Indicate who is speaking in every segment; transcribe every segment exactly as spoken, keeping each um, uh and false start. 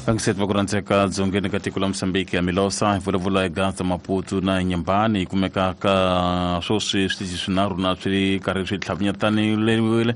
Speaker 1: Vangiseti va ku rhandzeka dzongeni ka tiko la Mozambique ya Milosa hi vulavula hi Gaza Maputo na Nyambani hi kumeka ka swoswi switichi swinharhu na swi karhi swi tlhavinyetanile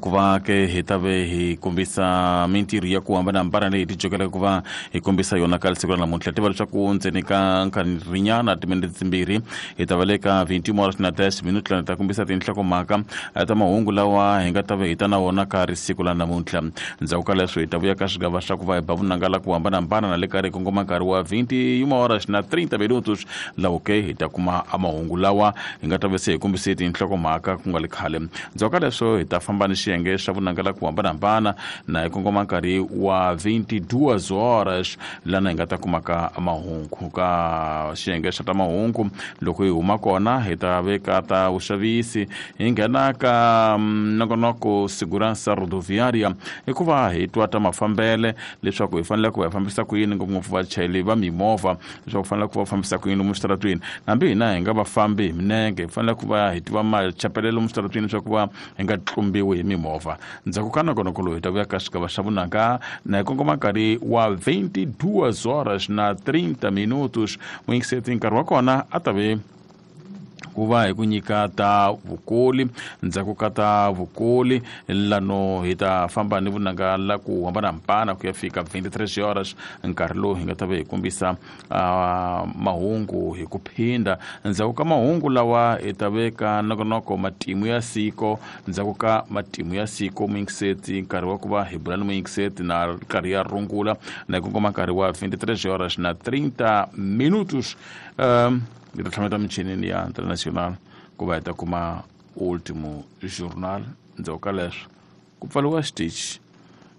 Speaker 1: ku va ke hi ta ve hi kombisa mintirho ya ku hambanahambana leyi hi tijokelaka ku va hi kombisa yona ka siku ra namuntlha. Tiva leswaku ndzeni ka nkarhinyana timinete timbirhi hi ta va le ka vingt horas na dez minutos lani ta kombisa tinhlokomhaka ta mahungu lawa hi nga ta ve hi ta na wona ka ri siku la namuntlha. Ndzhaku ka leswo hi ta vuya ka swigava swa ku va hi ba vunanga la ku hambanahambana na le karhi hi kongoma nkarhi wa vingt horas na trinta minutos lawo ke hi ta kuma mahungu lawa hi nga ta ve se hi kombise tinhlokomhaka ku nga le khale. Ndzhaku ka leswo hi ta famba ni xiyenge xa vunanga la ku hambanahambana na hi kongoma nkarhi wa vinte e duas horas lana hi nga ta kumaka mahungu ka xiyenge xa ta mahungu. Loko hi huma kona hi ta veka ta vuxavisi hi nghena ka nongonoko Segurança Rodoviária hikuva hi twa ta mafambele leswaku hi fanele ku hi fambisa ku yini ngopfungopfu vachayeri va mimovha leswaku fanele ku va fambisa ku yini lomu switaratwini. Hambi hina hi nga vafambi hi minenge hi fanele ku va hi tiva machapelelo lomu switaratwini leswaku va hi nga tlumbiwi hi mimovha. Ndzhaku ka nongonoko lowu hi ta vuya ka xigava xa vunanga na hi kongoma nkarhi wa vinte e duas horas na trinta minutos. Muyingiseti nkarhi wa kona a ta ve ku va hi ku nyika ta vukoli. Ndzhaku ka ta vukoli lano hi ta famba ni vunanga la ku hambanahambana ku ya fika vinte e três horas nkarhi lowu hi nga ta ve hi kombisa uh, mahungu hi ku phinda. Ndzhaku ka mahungu lawa hi ta veka nongonoko matimu ya siko. Ndzhaku ka matimu ya siko muyingiseti nkarhi wa ku va hi bula ni muyingiseti na nkarhi ya rungula na hi kongoma nkarhi wa vinte e três horas na trinta minutos. um, hi ta tlhameta michinini ya international ku va hi ta kuma Último Jornal. Ndzhaku ka leswo ku pfariwa xitichi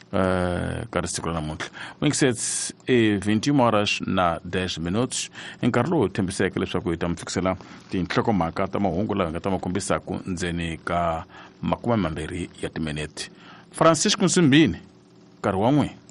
Speaker 1: uh, ka siku ra namuntlha. Muyingiseti i vinte e uma horas na dez minutos nkarhi lowu hi tshembiseke leswaku hi ta mi fikisela tinhlokomhaka ta mahungu lawa hi nga ta ma kombisaku ndzeni ka makume mambirhi ya timinete. Francisco Nsimbini nkarhi wa n'wina.